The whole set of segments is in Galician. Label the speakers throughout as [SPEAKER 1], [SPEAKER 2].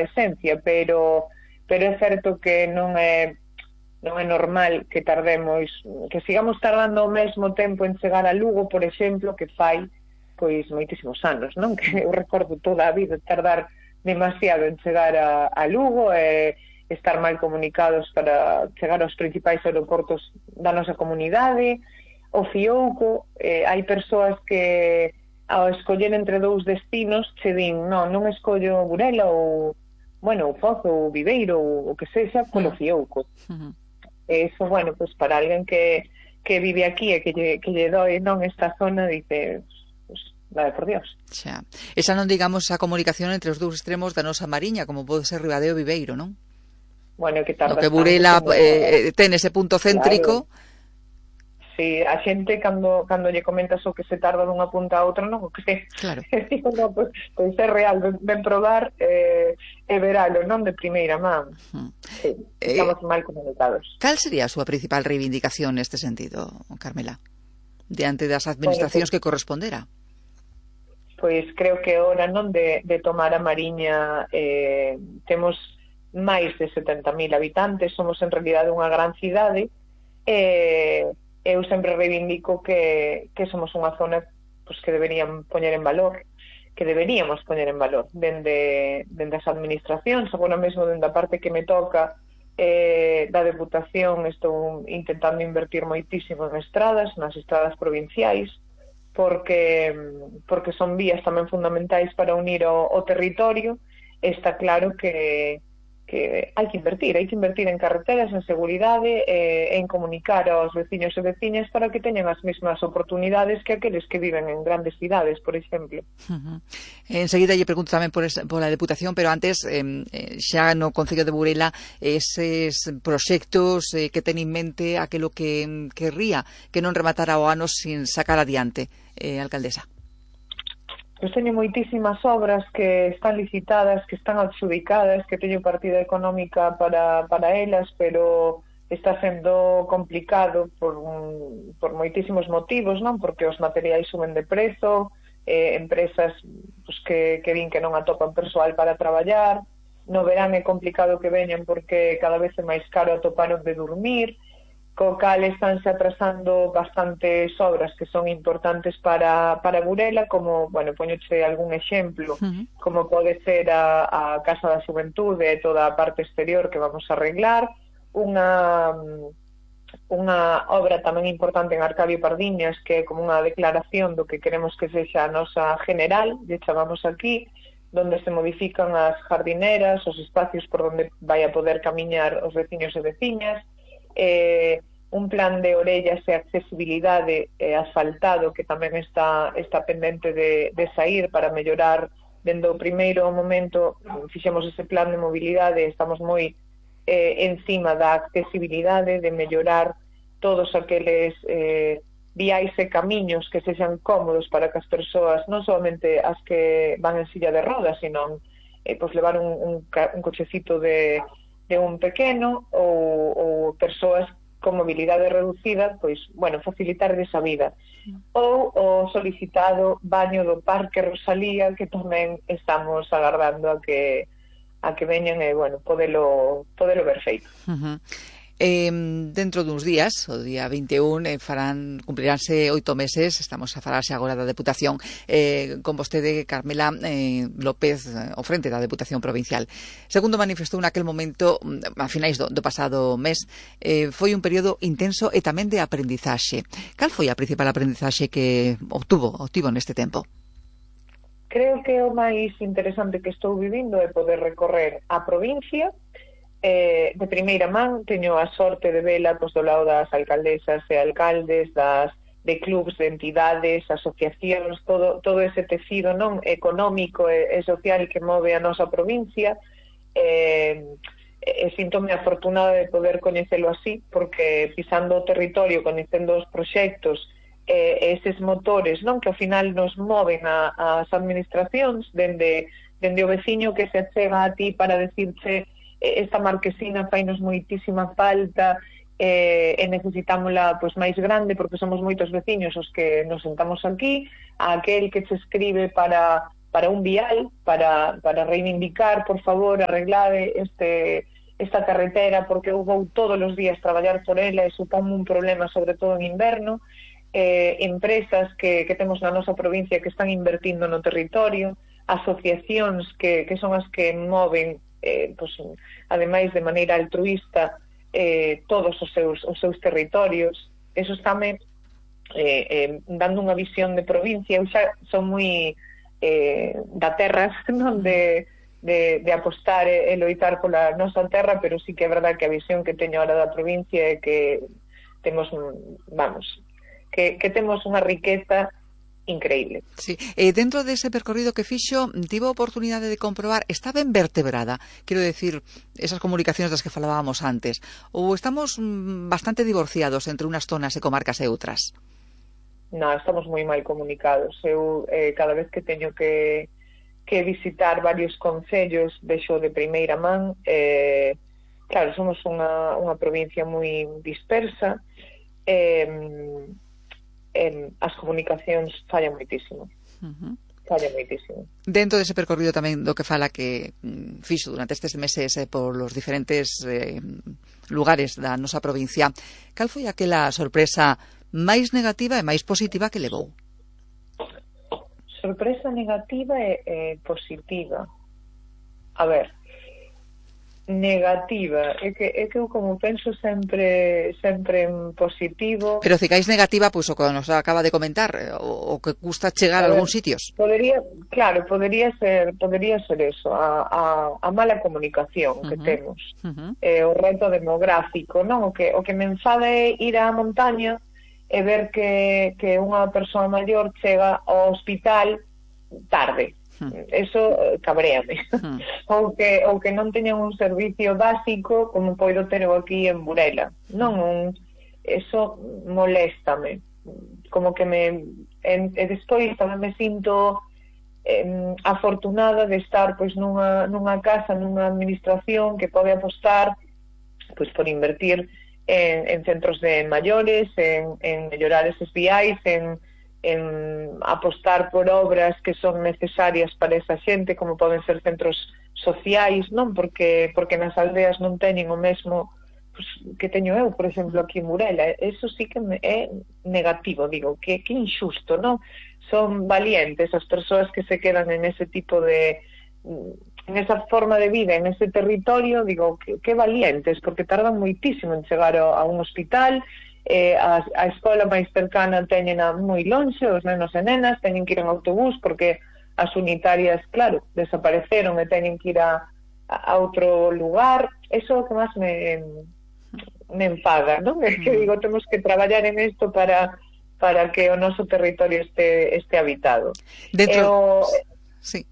[SPEAKER 1] a esencia, pero é certo que non é normal que tardemos, que sigamos tardando o mesmo tempo en chegar a Lugo, por exemplo, que fai pois moitísimos anos, non? Que eu recordo toda a vida tardar demasiado en chegar a Lugo e estar mal comunicados para chegar aos principais aeroportos da nosa comunidade. O Fiouco, hai persoas que ao escoller entre dous destinos che din, non escollo Burela ou, o Pozo ou Viveiro ou o que sexa polo Fiouco. Eso, pues para alguén que vive aquí e que lle doi non esta zona, dice, vale, por Dios.
[SPEAKER 2] Xa. Esa non digamos a comunicación entre os dous extremos da nosa mariña, como pode ser Ribadeo e Viveiro, non?
[SPEAKER 1] Que tarda
[SPEAKER 2] que Burela ten ese punto céntrico.
[SPEAKER 1] Claro. Sí, a xente cando lle comentas o que se tarda dunha punta a outra, non? O que
[SPEAKER 2] claro.
[SPEAKER 1] Pois é real, ben probar e veralo, non de primeira man. Sí, estamos mal comunicados.
[SPEAKER 2] Cal sería a súa principal reivindicación neste sentido, Carmela? Diante das administracións que correspondera?
[SPEAKER 1] Pois creo que é hora, non, de tomar a Mariña. Temos máis de 70.000 habitantes, somos en realidade unha gran cidade, eu sempre reivindico que somos unha zona que deberíamos poñer en valor dende as administracións. Agora mesmo dende a parte que me toca da Deputación estou intentando invertir moitísimo en estradas, nas estradas provinciais, porque son vías tamén fundamentais para unir o territorio. Está claro que hai que invertir en carreteras, en seguridade, en comunicar aos veciños e veciñas para que teñan as mesmas oportunidades que aqueles que viven en grandes cidades, por exemplo.
[SPEAKER 2] Enseguida lle pregunto tamén pola Deputación, pero antes, xa no Concello de Burela, eses proxectos que ten en mente aquilo que querría que non rematara o ano sin sacar adiante, alcaldesa.
[SPEAKER 1] Pois teño moitísimas obras que están licitadas, que están adxudicadas, que teño partida económica para elas, pero está sendo complicado por moitísimos motivos, non? Porque os materiais suben de prezo, empresas que din que non atopan persoal para traballar, no verán é complicado que veñan porque cada vez é máis caro atopar onde dormir, co cal estánse atrasando bastantes obras que son importantes para Burela, como, poñoche algún exemplo, como pode ser a Casa da Xuventude e toda a parte exterior que vamos a arreglar, unha obra tamén importante en Arcadio Pardiñas, que é como unha declaración do que queremos que sexa a nosa general, lle chamamos aquí, donde se modifican as jardineras, os espacios por onde vai a poder camiñar os veciños e veciñas, un plan de orellas e accesibilidade asfaltado que tamén está pendente de sair para mellorar. Dende o primeiro momento fixemos ese plan de mobilidade, estamos moi encima da accesibilidade, de mellorar todos aqueles viais e camiños que sexan cómodos para que as persoas, non solamente as que van en silla de rodas, sino levar un cochecito de un pequeno ou persoas con mobilidade reducida, facilitar esa vida. Ou o solicitado baño do Parque Rosalía, que tamén estamos agardando a que veñan e, podelo ver feito.
[SPEAKER 2] Dentro duns días, o día 21, cumpliránse 8 meses, estamos a falarse agora da Deputación, con vostede, Carmela López, ao frente da Deputación Provincial. Segundo manifestou naquel momento, a finais do pasado mes, foi un período intenso e tamén de aprendizaxe. Cal foi a principal aprendizaxe que obtivo neste tempo?
[SPEAKER 1] Creo que o máis interesante que estou vivindo é poder recorrer a provincia. De primeira man teño a sorte de vela do lado das alcaldesas e alcaldes, de clubs, de entidades, asociacións, todo ese tecido non económico e social que move a nosa provincia. Síntome afortunada de poder coñecelo así, porque pisando o territorio, coñecendo os proxectos, eses motores non que ao final nos moven as administracións, dende o veciño que se achega a ti para decirche esta marquesina fainos moitísima falta e necesitámola máis grande porque somos moitos veciños os que nos sentamos aquí, a aquel que se escribe para un vial, para reivindicar, por favor, arreglar esta carretera, porque eu vou todos os días traballar por ela e supón un problema, sobre todo en inverno. Empresas que temos na nosa provincia que están invertindo no territorio, asociacións que son as que moven, pues, ademais de maneira altruista, todos os seus territorios. Eso estáme dando unha visión de provincia. Eu xa son moi da terra, non de apostar e loitar pola nosa terra, pero sí que é verdad que a visión que teño ahora da provincia é que temos, que temos unha riqueza increíble.
[SPEAKER 2] Sí. Dentro dese percorrido que fixo, tivo a oportunidade de comprobar, está ben vertebrada, quero decir, esas comunicacións das que falábamos antes, ou estamos bastante divorciados entre unhas zonas e comarcas e outras?
[SPEAKER 1] Non, estamos moi mal comunicados. Eu cada vez que teño que visitar varios concellos vexo de primeira man. Claro, somos unha provincia moi dispersa, as comunicacións fallan moitísimo. Fallan moitísimo.
[SPEAKER 2] Dentro dese percorrido tamén do que fala que fixo durante estes meses por los diferentes lugares da nosa provincia, cal foi aquela sorpresa máis negativa e máis positiva que levou?
[SPEAKER 1] Sorpresa negativa e positiva. A ver, negativa, é que eu como penso sempre en positivo.
[SPEAKER 2] Pero cicáis negativa, pois o que nos acaba de comentar, o que custa chegar a algúns sitios.
[SPEAKER 1] Podría ser eso, a mala comunicación que temos. O reto demográfico, non? O que me enfada é ir á montaña e ver que unha persoa maior chega ao hospital tarde. Eso cabréame. Ou que non teñan un servicio básico como poido ter eu aquí en Burela. Eso moléstame. Como que despois tamén me sinto afortunada de estar pois nunha casa, nunha administración que pode apostar pois por invertir en centros de maiores, en mellorar eses viais, en apostar por obras que son necesarias para esa xente, como poden ser centros sociais, non? Porque nas aldeas non teñen o mesmo pues, que teño eu, por exemplo, aquí en Burela. Eso sí que é negativo, digo, que injusto, non? Son valientes as persoas que se quedan en ese tipo de en esa forma de vida, en ese territorio, digo, que valientes, porque tardan moitísimo en chegar a un hospital. A escola máis cercana teñen moi lonxe, os nenos e nenas teñen que ir en autobús porque as unitarias, claro, desapareceron e teñen que ir a outro lugar. Eso é o que máis me enfada, non? É que digo, temos que traballar en isto para que o noso territorio este habitado. Sí,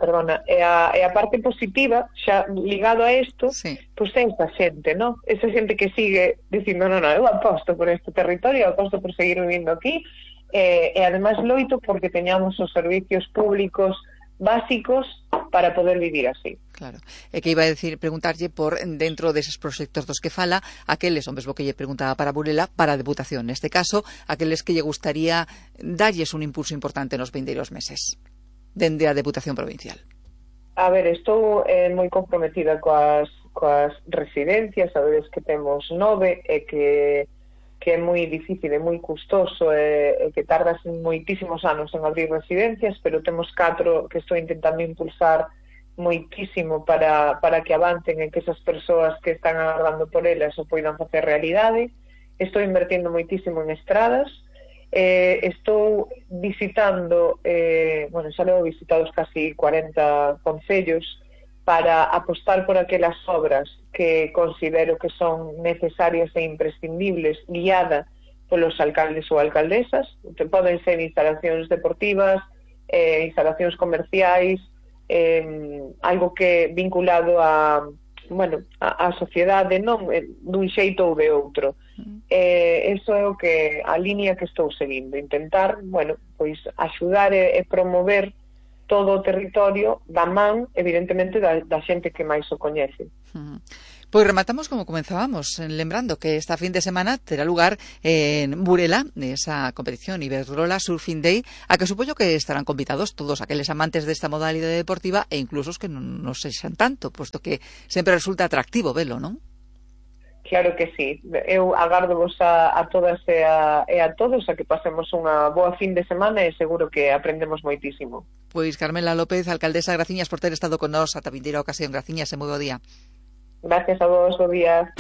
[SPEAKER 1] perdona. E a parte positiva, xa ligado a isto, pois é esa xente, non? Esa xente que sigue dicindo, non, eu aposto por este territorio, aposto por seguir vivindo aquí, e ademais loito porque teñamos os servicios públicos básicos para poder vivir así.
[SPEAKER 2] Claro, é que iba a preguntarlle por dentro deses proxectos dos que fala, aqueles, o mesmo que lle preguntaba para Burela, para a Deputación, neste caso, aqueles que lle gustaría darlles un impulso importante nos vindeiros meses dende a Deputación Provincial.
[SPEAKER 1] A ver, estou moi comprometida coas residencias, sabedes que temos 9 e que é moi difícil e moi custoso e que tardas moitísimos anos en abrir residencias, pero temos 4 que estou intentando impulsar moitísimo para que avancen e que esas persoas que están agardando por elas o poidan facer realidade. Estou invertindo moitísimo en estradas. Estou visitando, xa levo visitados casi 40 concellos para apostar por aquelas obras que considero que son necesarias e imprescindibles, guiada polos alcaldes ou alcaldesas. Poden ser instalacións deportivas, instalacións comerciais, algo que vinculado a sociedade, non dun xeito ou de outro. Eso é a línea que estou seguindo, intentar, pois axudar e promover todo o territorio da man, evidentemente, da xente que máis o coñece.
[SPEAKER 2] Pois rematamos como comenzábamos, lembrando que esta fin de semana terá lugar en Burela esa competición Iberdrola Surfing Day, a que supoño que estarán convidados todos aqueles amantes desta modalidade deportiva e incluso os que non sexan tanto, posto que sempre resulta atractivo velo, non?
[SPEAKER 1] Claro que sí. Eu agardovos a todas e a todos a que pasemos unha boa fin de semana e seguro que aprendemos moitísimo.
[SPEAKER 2] Pois Carmela López, alcaldesa, graciñas por ter estado con nós ata vindeira ocasión. Graciñas e moi bo día.
[SPEAKER 1] Gracias a vos, bo día.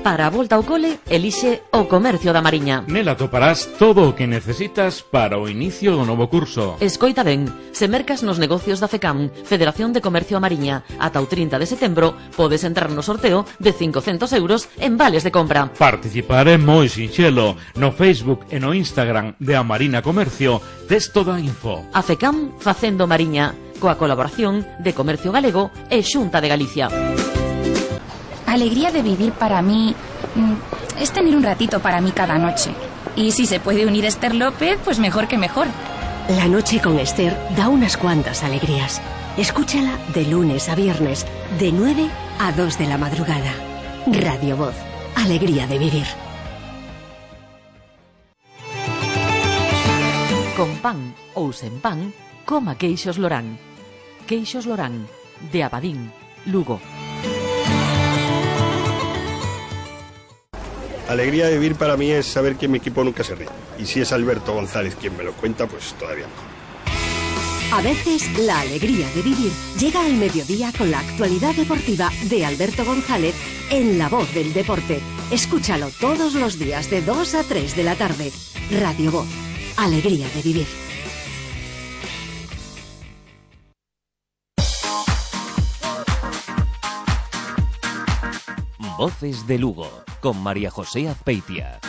[SPEAKER 3] Para a volta ao cole, elixe o Comercio da Mariña.
[SPEAKER 4] Nela toparás todo o que necesitas para o inicio do novo curso.
[SPEAKER 3] Escoita ben, se mercas nos negocios da FECAM, Federación de Comercio a Mariña, ata o 30 de setembro, podes entrar no sorteo de 500 euros en vales de compra.
[SPEAKER 4] Participar é moi sinxelo. No Facebook e no Instagram de A Marina Comercio tes toda a info.
[SPEAKER 3] A FECAM facendo Mariña, coa colaboración de Comercio Galego e Xunta de Galicia.
[SPEAKER 5] Alegría de vivir para mí es tener un ratito para mí cada noche. Y si se puede unir Esther López, pues mejor que mejor.
[SPEAKER 6] La noche con Esther da unas cuantas alegrías. Escúchala de lunes a viernes, de 9 a 2 de la madrugada. Radio Voz, alegría de vivir.
[SPEAKER 3] Con pan ou sen pan, coma queixos Lorán. Queixos Lorán, de Abadín, Lugo.
[SPEAKER 7] Alegría de vivir para mí es saber que mi equipo nunca se ríe. Y si es Alberto González quien me lo cuenta, pues todavía mejor.
[SPEAKER 6] A veces, la alegría de vivir llega al mediodía con la actualidad deportiva de Alberto González en La Voz del Deporte. Escúchalo todos los días de 2 a 3 de la tarde. Radio Voz, alegría de vivir.
[SPEAKER 8] Voces de Lugo, con María José Azpeitia.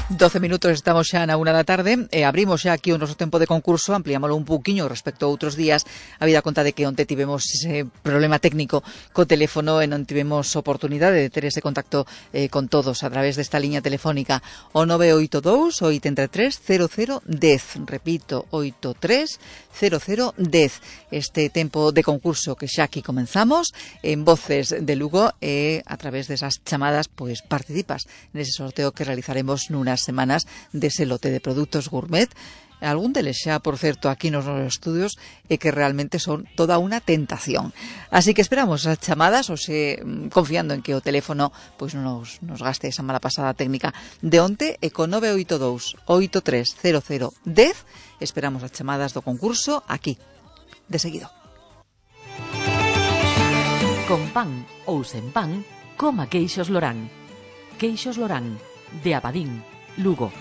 [SPEAKER 2] 12 minutos, estamos xa na 1 da tarde e abrimos xa aquí o noso tempo de concurso, ampliámoslo un pouquiño respecto a outros días, habida conta de que onte tivemos ese problema técnico co teléfono e non tivemos oportunidade de ter ese contacto con todos a través desta liña telefónica o 982 83 00 10, repito, 83 00 10. Este tempo de concurso que xa aquí comenzamos en Voces de Lugo e a través desas chamadas pois participas nese sorteo que realizaremos nunas semanas dese lote de produtos gourmet, algún deles xa, por certo, aquí nos estudios e que realmente son toda unha tentación. Así que esperamos as chamadas, ou se confiando en que o teléfono pois non nos gaste esa mala pasada técnica de onte, e con 982 83 00 10 esperamos as chamadas do concurso aquí, de seguido.
[SPEAKER 3] Con pan ou sen pan, coma queixos Lorán. Queixos Lorán, de Abadín, Lugo.